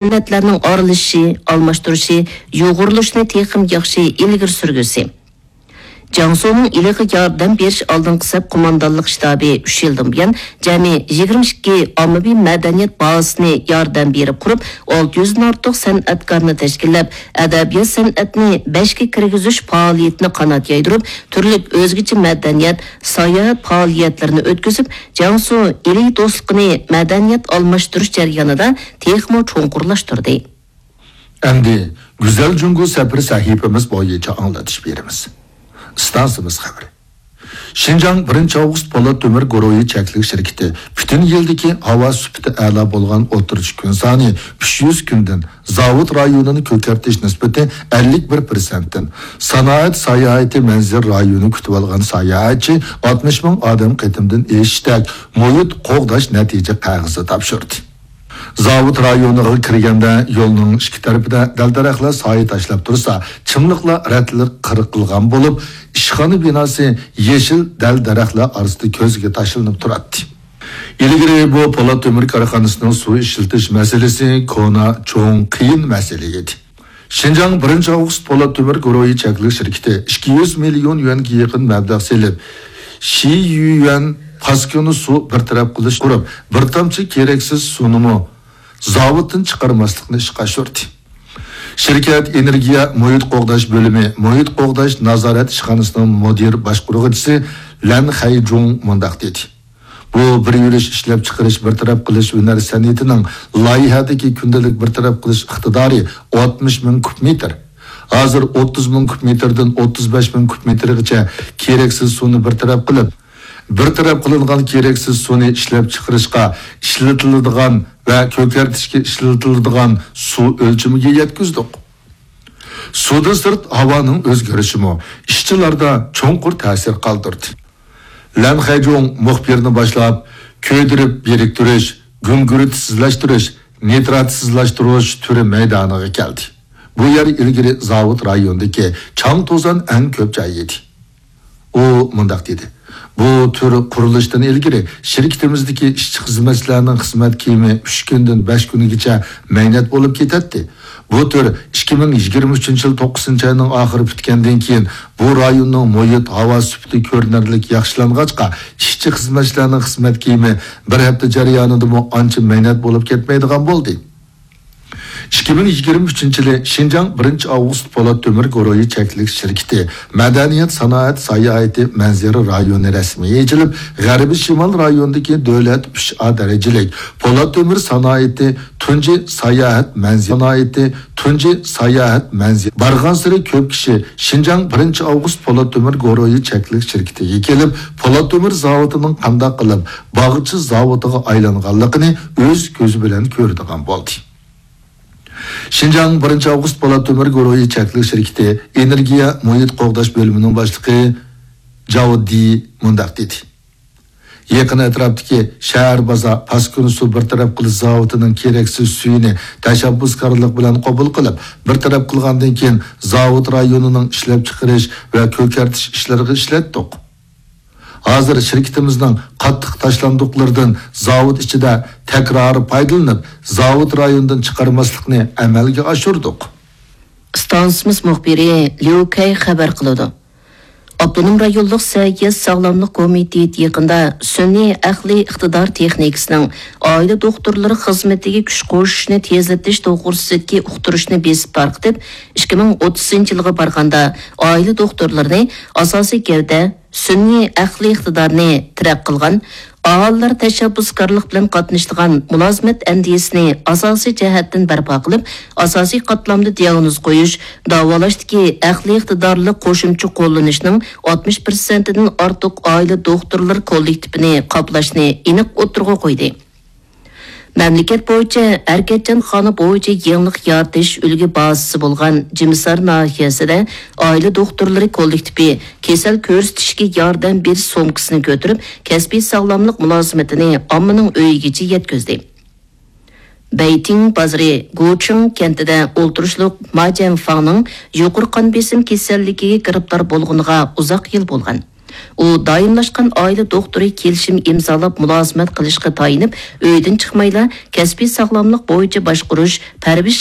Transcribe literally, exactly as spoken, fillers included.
سەنئەتلەرنىڭ ئارىلىشىشى، ئالماشتۇرۇشى، يۇغۇرۇلۇشىنى تېخىمۇ ياخشى ئىلگىرى سۈرگۈسى. جياڭسۇنىڭ ئىلىغا ياردەم بېرىش ئالدىنقى سەپ قوماندانلىق شتابى ئۈچ يىلدىن بۇيان جەمئىي يىگىرمە ئىككى ئاممىۋى مەدەنىيەت بازىسىنى ياردەم بېرىپ قۇرۇپ، ئالتە يۈزدىن ئارتۇق سەنئەتكارنى تەشكىللەپ، ئەدەبىيات-سەنئەتنى بەشكە كىرگۈزۈش پائالىيىتىنى قانات يايدۇرۇپ، تۈرلۈك ئۆزگىچە مەدەنىيەت، ساياھەت پائالىيەتلىرىنى ئۆتكۈزۈپ، جياڭسۇ ئىلى دوستلۇقىنى مەدەنىيەت ئالماشتۇرۇش جەريانىدا تېخىمۇ چوڭقۇرلاشتۇردى. ئەمدى گۈزەل جۇڭگو سەپىرى سەھىپىمىز بويىچە ئاڭلىتىش بېرىمىز. ئىستانسىمىز خەۋىرى. شىنجاڭ بىرىنچى ئاۋغۇست پولات تۆمۈر گۇرۇھى چەكلىك شىركىتى پۈتۈن يىلدىكى ھاۋا سۈپىتى ئەلا بولغان ئوتتۇرىچە كۈن سانى ئۈچ يۈز كۈندىن، زاۋۇت رايونىنى كۆكەرتىش نىسبىتى ئەللىك بىر پىرسەنتتىن، سانائەت ساياھىتى مەنزىرە رايونى كۈتۈۋالغان ساياھەتچى ئاتمىش مىڭ ئادەم قېتىمدىن ئېشىشتەك مۇھىت قوغداش نەتىجە قەغىزى تاپشۇردى. زاۋۇت رايونىغا كىرگەندە يولنىڭ ئىككى تەرىپىدە دەل-دەرەخلەر سايە تاشلاپ تۇرسا، چىملىقلار رەتلىك قىرىق قىلغان بولۇپ، ئىشخانا بىناسى يېشىل دەل-دەرەخلەر ئارىسىدا كۆزگە تاشلىنىپ تۇراتتى. ئىلگىرى بۇ پولات تۆمۈر كارخانىسىنىڭ سۇ ئىشلىتىش مەسىلىسى كونا، چوڭ، قىيىن مەسىلە ئىدى. شىنجاڭ بىرىنچى ئاۋغۇست پولات تۆمۈر گۇرۇھى چەكلىك شىركىتى ئىككى يۈز مىليون يۈەنگە يېقىن مەبلەغ سېلىپ، شىيۈەن پاسكىنا سۇ بىر تەرەپ قىلىش قۇرۇپ، بىر تامچە كېرەكسىز سۇنىمۇ زاۋۇتتىن چىقارماسلىقنى ئىشقا ئاشۇردى. شىركەت ئېنېرگىيە مۇھىت قوغداش بۆلۈمى مۇھىت قوغداش نازارەت ئىشخانىسىنىڭ مۇدىر باشقۇرغۇچىسى لەن خەيجۇڭ مۇنداق دېدى: بۇ بىر يۈرۈش ئىشلەپچىقىرىش بىر تەرەپ قىلىش ھۈنەر سەنئىتىنىڭ لايىھەدىكى كۈندىلىك بىر تەرەپ قىلىش ئىقتىدارى ئاتمىش مىڭ كۇب مېتىر. ھازىر ئوتتۇز مىڭ كۇب مېتىردىن ئوتتۇز بەش مىڭ كۇب مېتىرغىچە كېرەكسىز سۇنى بىر تەرەپ قىلىپ، بىر تەرەپ قىلىنغان كېرەكسىز سۇنى ئىشلەپچىقىرىشقا ئىشلىتىلىدىغان ۋە كۆكەرتىشكە ئىشلىتىلىدىغان سۇ ئۆلچىمىگە يەتكۈزدۇق. سۇدىن سىرت ھاۋانىڭ ئۆزگىرىشىمۇ ئىشچىلاردا چوڭقۇر تەسىر قالدۇردى. لەن خەيجۇڭ مۇخبىرنى باشلاپ، كۆيدۈرۈپ بىرىكتۈرۈش، گۈڭگۈرتسىزلەشتۈرۈش، نىتراتسىزلاشتۇرۇش تۈرى مەيدانىغا كەلدى. بۇ يەر ئىلگىرى زاۋۇت رايونىدىكى چاڭ-توزان ئەڭ كۆپ جاي ئىدى. ئۇ مۇنداق دېدى: بۇ تۈر قۇرۇلۇشتىن ئىلگىرى شىركىتىمىزدىكى ئىشچى-خىزمەتچىلەرنىڭ خىزمەت كىيىمى ئۈچ كۈندىن بەش كۈنگىچە مەينەت بولۇپ كېتەتتى. بۇ تۈر ئىككى مىڭ يىگىرمە ئۈچىنچى يىل توققۇزىنچى ئاينىڭ ئاخىرى پۈتكەندىن كېيىن، بۇ رايوننىڭ مۇھىت ھاۋا سۈپىتى كۆرۈنەرلىك ياخشىلانغاچقا، ئىشچى-خىزمەتچىلەرنىڭ خىزمەت كىيىمى بىر ھەپتە جەريانىدىمۇ ئانچە مەينەت بولۇپ كەتمەيدىغان بولدى. ئىككى مىڭ يىگىرمە ئۈچىنچى يىلى شىنجاڭ بىرىنچى ئاۋغۇست پولات تۆمۈر گۇرۇھى چەكلىك شىركىتى مەدەنىيەت، سانائەت، ساياھىتى، مەنزىرە رايونى رەسمىي ئېچىلىپ، غەربىي شىمال رايونىدىكى دۆلەت ئۈچ ئا دەرىجىلىك پولات تۆمۈر سانائىتى تۇنجى ساياھەت مەنزىلى، سانائىتى تۇنجى ساياھەت مەنزىلى. بارغانسېرى كۆپ كىشى شىنجاڭ بىرىنچى ئاۋغۇست پولات تۆمۈر گۇرۇھى چەكلىك شىركىتىگە كېلىپ، پولات تۆمۈر زاۋۇتىنىڭ قانداق قىلىپ باغچە زاۋۇتىغا ئايلانغانلىقىنى ئۆز كۆزى بىلەن كۆرىدىغان بولدى. شىنجاڭ بىرىنچى ئاۋغۇست پولات تۆمۈر گۇرۇھى چەكلىك شىركىتى ئېنېرگىيە مۇھىت قوغداش بۆلۈمىنىڭ باشلىقى جاۋ دى مۇنداق دېدى: يېقىن ئەتراپتىكى شەھەر بازار پاسكىنا سۇ بىر تەرەپ قىلىش زاۋۇتىنىڭ كېرەكسىز سۈيىنى تەشەببۇسكارلىق بىلەن قوبۇل قىلىپ، بىر تەرەپ قىلغاندىن كېيىن، زاۋۇت رايونىنىڭ ئىشلەپچىقىرىش ۋە كۆكەرتىش ئىشلىرىغا ئىشلەتتۇق. ھازىر شىركىتىمىزنىڭ قاتتىق تاشلاندۇقلىرىدىن زاۋۇت ئىچىدە تەكرارىي پايدىلىنىپ، زاۋۇت رايونىدىن چىقارماسلىقنى ئەمەلگە ئاشۇردۇق. ئىستانسىمىز مۇخبىرى ليۇ كەي خەۋەر قىلىدۇ. ئاپتونوم رايونلۇق سەھىيە ساغلاملىق كومىتېتى يېقىندا سۈنئىي ئەقلىي ئىقتىدار تېخنىكىسىنىڭ ئائىلە دوختۇرلىرى خىزمىتىگە كۈچ قوشۇشنى تېزلىتىش توغرىسىدىكى ئۇقتۇرۇشنى بېسىپ تارقىتىپ، ئىككى مىڭ ئوتتۇزىنچى يىلغا بارغاندا ئائىلە دوختۇرلىرىنى ئاساسىي گەۋدە، سۈنئىي ئەقلىي ئىقتىدارنى تىرەك قىلغان، ئاھالىلەر تەشەببۇسكارلىق بىلەن قاتنىشىدىغان مۇلازىمەت ئەندىزىسىنى ئاساسىي جەھەتتىن بەرپا قىلىپ، ئاساسىي قاتلامدا دىياگنوز قويۇش، داۋالاشتىكى ئەقلىي ئىقتىدارلىق قوشۇمچە قوللىنىشنىڭ ئاتمىش پىرسەنتىدىن ئارتۇق ئائىلە دوختۇرلىرى كوللېكتىپىنى قاپلاشنى ئېنىق ئوتتۇرىغا قويدى. مەملىكەت بويىچە ھەرىكەتچانخانا بويىچە يېڭىلىق يارىتىش ئۈلگە بازىسى بولغان جىمىسار ناھىيەسىدە ئائىلە دوختۇرلىرى كوللېكتىپى كېسەل كۆرسىتىشكە ياردەم بېرىش سومكىسىنى كۆتۈرۈپ، كەسپىي ساغلاملىق مۇلازىمىتىنى ئاممىنىڭ ئۆيىگىچە يەتكۈزدى. بەيتىڭ بازىرى گۇچىڭ كەنتىدە ئولتۇرۇشلۇق ما جيەنفاڭنىڭ يۇقىرى قان بېسىم كېسەللىكىگە گىرىپتار بولغىنىغا ئۇزاق يىل بولغان. ئۇ دائىملاشقان ئائىلە دوختۇرى كېلىشىم ئىمزالاپ مۇلازىمەت قىلىشقا تايىنىپ، ئۆيدىن چىقمايلا كەسپىي ساغلاملىق بويىچە باشقۇرۇش، پەرۋىش